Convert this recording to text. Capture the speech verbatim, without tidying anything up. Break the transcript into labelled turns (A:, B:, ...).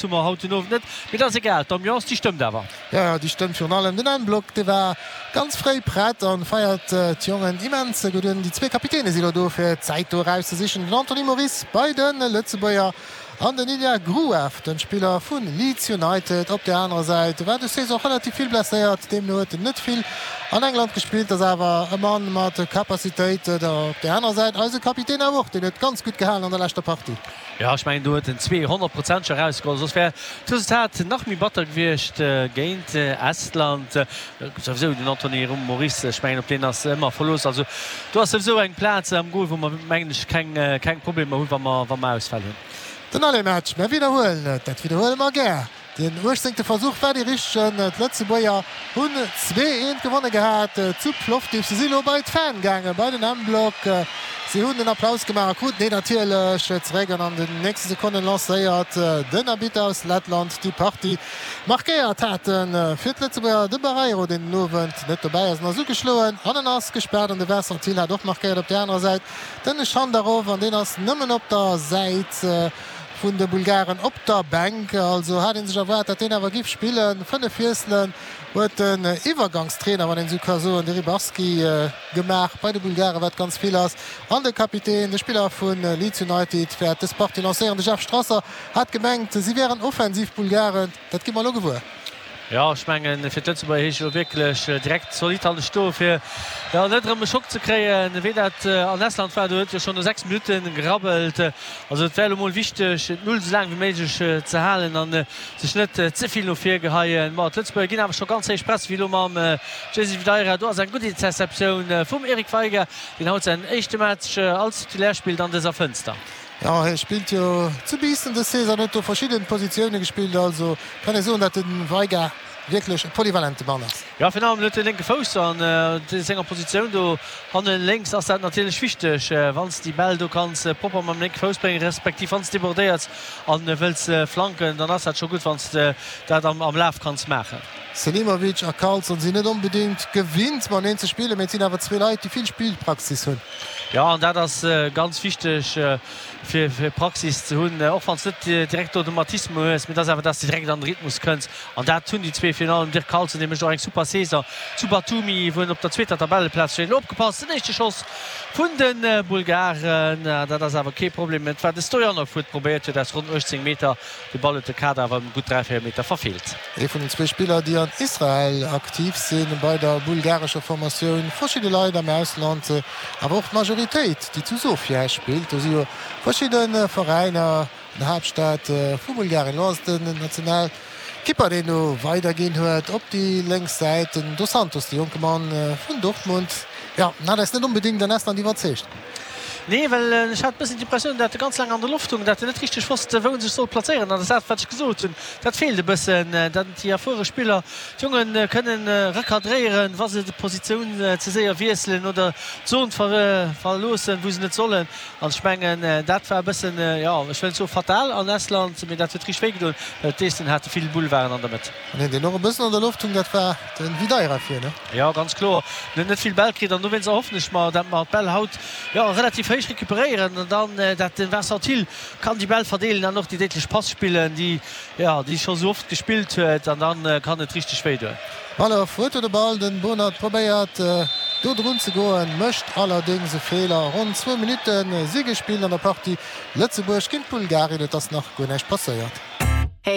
A: Hu mer haut den Owend net, mee dat ass egal, d'Ambiance déi stëmmt awer.
B: Jo, jo, déi stëmmt. Virun allem den M-Block, dee war ganz fréi prett an feiert d'Jongen immens gutt un. Déi zwee Kapitäne si lo do fir d'Zäit do erauszesichen, den Anthony Moris bei de Lëtzebuerger an den Ilya Gruev, den Spiller vu Leeds United op där anerer Säit. War dës Saison relativ vill blesséiert, deemno huet en net vill an England gespillt, ass awer e Mann mat Capacitéit. Op där anerer Säit eise Kapitän awer och, deen huet ganz gutt gehalen an der leschter Partie.
A: Jo, ech mengen do huet en zwee Honnertprozenteger erausgeholl, soss wär d'Resultat nach méi batter gewiescht géint Estland. Souwisou den Anthony Moris, ech mengen op deen ass ëmmer Verlooss. Also do ass souwisou eng Plaz am Goal, wou mer mengen ech keng keng Problemer hunn, wa mer wa mer Ausfäll hunn.
B: Den Aller-Match, mer widderhuelen et, dat widderhuele mer gär, Den uechtzéngte Versuch war dee richtegen. D'Lëtzebuerger hunn zwee eent gewonne gehat zu Plovdiv. Se si lo bei d'Fan gaangen, bei den M-Block. Si hunn den Applaus gemaach a kruten deen natierlech zeréck. An an den nächste Sekonnen lancéiert den Arbitter aus Lettland déi Partie. Markéiert hate fir d'Lëtzebuerger de Barreiro, deen den Owend net dobäi ass. En ass ugeschloen an en ass gespaart. An de Vincent Thill hat och markéiert. Op där anerer Säit den Schandarov an deen ass nëmmen op der Säit vun de Bulgaren op der Bänk. Also hat ee sech erwaart, datt deen awer giff spillen. Fënnef Wiesselen huet den Iwwergangstrainer, wann een esou ka soen, de Ribarski, gemaach bei de Bulgaren, wat ganz vill ass. An de Kapitän, de Spiller vu Leeds United, wäert dës Partie lancéieren. De Jeff Strasser hat gemengt, si wären offensiv Bulgaren. Dat gi mer elo gewuer.
A: Jo, ech mengen, fir d'Lëtzebuerger heescht et elo wierklech direkt zolidd hanne stoen, fir jo net erëm e Schock ze kréien, wéi dat an Estland war. Do huet jo schonn no sechs Minutte gerabbelt. Also et wär elo mol wichteg, d'Null esou laang wéi méiglech ze halen a sech net ze vill no vir geheien. Ma d'Lëtzebuerger ginn awer scho ganz héich Press, wéi elo mam Jaycee Videira. Do ass eng gutt Interceptioun vum Eric Veiga, deen haut säin éischte Match als Titulaire spillt an dëser Fënster.
B: Jo, hie spillt jo zu Biissen dës Saison, huet do verschidden Positioune gespillt, also kann ee soen, datt de Veiga wierklech e polyvalente Mann ass.
A: Jo, virun allem huet e lénke Fouss an senger Positioun do hannen lénks ass dat natierlech wichteg, wann s de déi Bäll do kanns propper mam lénke Fouss bréngen, respektiv wann s debordéiers an wëlls flanken, dann ass dat scho gutt, wann s de dat am Laf kanns maachen.
B: Selimovic a Karlsson sinn net onbedéngt gewinnt mateneen ze spillen, mee et sinn awer zwee Leit, déi vill Spillpraxis hunn.
A: Jo, an dat ass ganz wichteg, fir Praxis ze hunn, och wann s net direkt Automatismen hues, mee et ass awer, dass de direkt an de Rhythmus kënns. An dat hunn déi zwee, virun allem Dirk Carlson, dee mécht och eng super Saison zu Batumi, wou en op der zweeter Tabelleplaz steet. Elo opgepasst, den éischte Schoss vun de Bulgaren, dat ass awer kee Problem. Et war de Stojanov, huet probéiert huet aus ronn uechtzéng Meter. De Ball huet de Kader awer ëm gutt dräi, véier Meter verfeelt.
B: Ee vun den zwee Spiller, déi an Israel aktiv sinn, bei der bulgarescher Formatioun. Verschidde Leit am Ausland, awer och d'Majoritéit, déi zu Sofia spillt. Do si jo verschidde Veräiner an der Haaptstad vu Bulgarien. Elo ass et den Nationalkipper, deen do weiderginn huet op déi lénks Säit, den Dos Santos, de jonke Mann vun Dortmund. Jo, en hat eis net onbedéngt an Estland iwwerzeegt.
A: Nee, well ech hat e bëssen d'Impressioun, dat e ganz laang an der Loft hung, dat en net richteg wosst, wou en sech sollt plazéieren. An dat ass dat, wat ech gesot hunn, dat feelt e bëssen, dat déi erfuere Spiller d'Jonge kënnen recadréieren, wa se d'Positioun ze séier wiesselen oder d'Zon verloossen, wou se net sollen. An ech mengen, dat war e bëssen, jo, ech wëll net soe fatal an Estland, mee dat huet richteg wéi gedoen, well d'Esten hate vill Boulevarden an der Mëtt.
B: An een, deen och e bëssen an der Loft hung, dat war de Videira vir, ne?
A: Jo, ganz kloer. En huet net vill Bäll kritt an dowéinst erhoffen ech mer, dat mer d'Bäll haut, jo, relativ héich recuperéieren an dann dat de Vincent Thill kann déi Bäll verdeelen an och déi déidlech Pass spillen, déi, jo, déi scho sou oft gespillt huet an dann kann et richteg wéi doen.
B: Ballef huet do de Ball, den Bonert probéiert do drun ze goen, mécht allerdéngs e Feeler. Ronn zwou Minutte si gespillt an der Partie Lëtzebuerg géint Bulgarien, et ass nach guer näischt passéiert.